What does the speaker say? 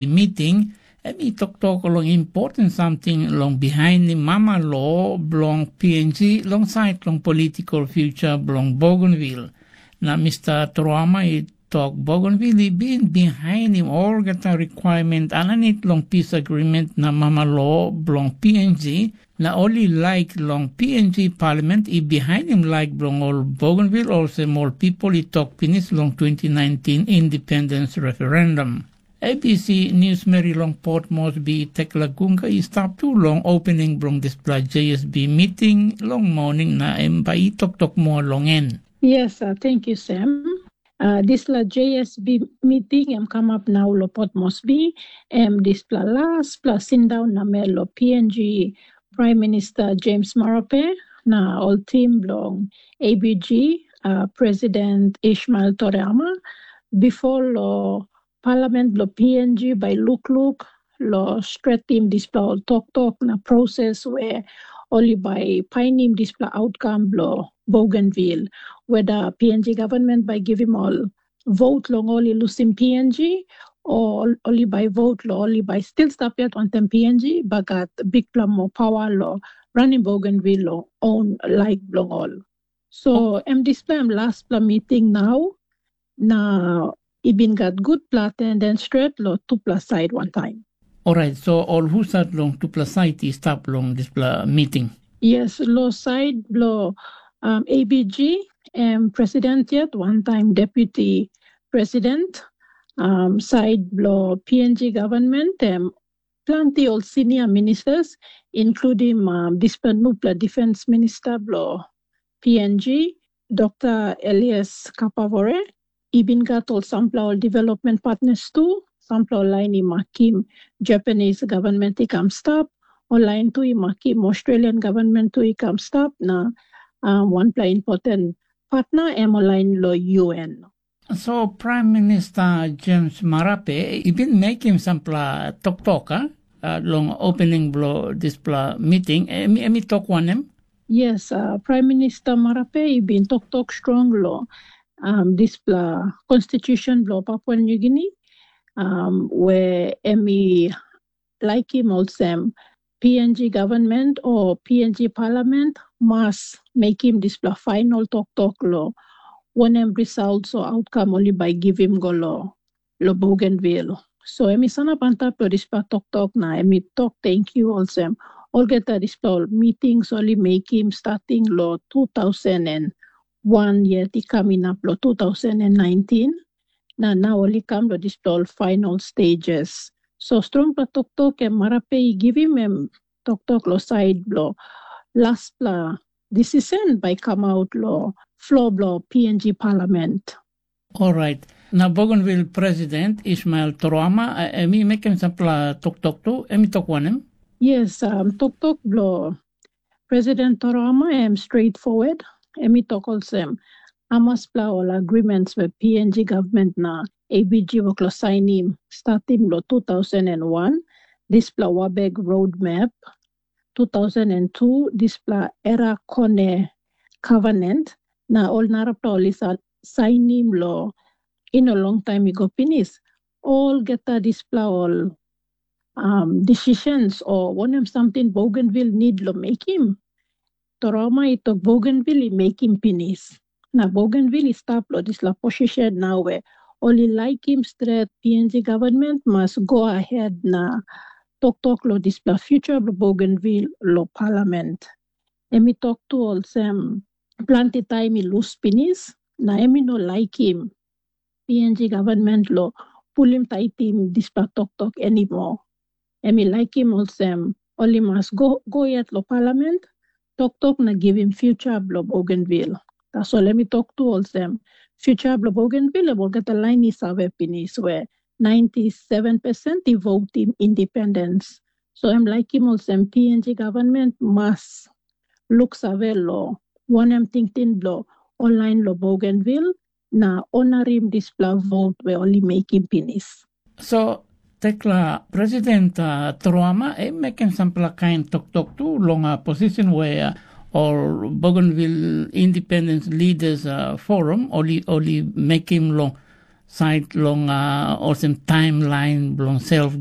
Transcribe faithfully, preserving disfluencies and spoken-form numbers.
miting, em i toktok long important samting long bihainim mama lo bilong P N G long sait long political future bilong Bougainville. Na Mr. Truama i tok Bougainville i bin bihainim olgeta requirement aninit long peace agreement na mama lo bilong P N G, na ol i laik long P N G Parliament i bihainim laik bilong ol Bougainville olsem ol people i tok pinis long twenty nineteen independence referendum. A B C News Mary long Port Moresby Tekla Gunga i stap tu long opening bilong dispela J S B meeting long morning na em bai i toktok moa long en. Yes, uh, thank you, Sam. Uh, dispela J S B meeting em kamap nau lo Port Moresby, em dispela laspela sindaun namel lo P N G Prime Minister James Marape na ol tim bilong A B G, uh, President Ishmael Toriyama, bipo lo Parliament bilong P N G bai lukluk long stretim dispela ol toktok na proses we ol i bai painim dispela outcome bilong Bougainville, whether P N G government bai givim ol vote long ol i lusim P N G, o ol i bai vote long ol i bai stil stap yet wantaim P N G, bai gat bikpela moa pawa long ranim Bougainville long own laik bilong ol. So em dispela em laspela miting nau, na i bin gat gutpela atendens stret long tupela sait wantaim. Orait, so ol husat long tupela sait i stap long dispela miting? Yes, long sait bilong um, A B G, em president yet, wantaim deputi president, um, sait bilong P N G government, em planti ol senior ministers, including um, dispela nupela defense minister bilong P N G, Dr. Elias Kapavore, i bin gat ol sampela ol development partners tu, sampela ol lain i makim Japanese government i kam stap, ol lain tu i makim Australian government tu i kam stap, na um, wanpela important partner em ol lain lo U N. So Prime Minister James Marape i bin mekim sampela toktok, a, long opening bilong dispela miting, em, em i tok wanem? Yes, uh, Prime Minister Marape i bin toktok strong long um, dispela constitution bilong Papua New Guinea, um, where em i laikim olsem P N G government o P N G parliament mas mekim dispela final toktok long wanem results o outcome ol i bai givim go long, long Bougainville. So em i sanap antap long dispela toktok na em i tok tenkyu olsem olgeta dispela ol meetings ol i mekim starting long two thousand and one yet i kam inap long two thousand and nineteen, na nau ol i kam long dispela ol final stages. So strongpela toktok em Marape i givim em toktok long sait bilong laspela decision bai i kamaut long flo bilong P N G Parliament. Orait, na Bougainville President Ismail Toroma, em i mekim sampela toktok tu, em i tok wanem? Yes, um, toktok bilong President Toroma em straightforward. Em i tok olsem, amaspela ol agreements we P N G government na A B G wok lo sainim starting lo two thousand and one, dispela Wabeg Roadmap, two thousand and two, dispela Era Kone Covenant, na ol narapela ol i sainim lo i no long taim i go pinis. Olgeta dispela ol um, decisions o wanem samting Bougainville need lo mekim, Toroma i tok Bougainville i mekim pinis. Na Bougainville i stap lo dispela position nau we ol i laikim stret P N G government mas go ahead na toktok lo dispela future bilong Bougainville lo parliament. Em i tok tu olsem planti taim i lus pinis, na em i no laikim P N G government lo pulim taitim dispela toktok anymore. Em i laikim olsem ol i mas go, go yet lo parliament, toktok na givim future bilong Bougainville. Tasol em i tok tu olsem, future bilong Bougainville em olgeta lain i save pinis we ninety seven percent i votim independence. So em laikim olsem P N G government mas luksave lo wanem tingting bilong ol lain lo Bougainville na onarim dispela vote we ol i mekim pinis. So, tekla President uh, Truama, em mekim sampela kain toktok tu long uh, position where uh, ol Bougainville Independence Leaders uh, Forum, ol i, ol i mekim long sait long uh, olsem taimlain bilong self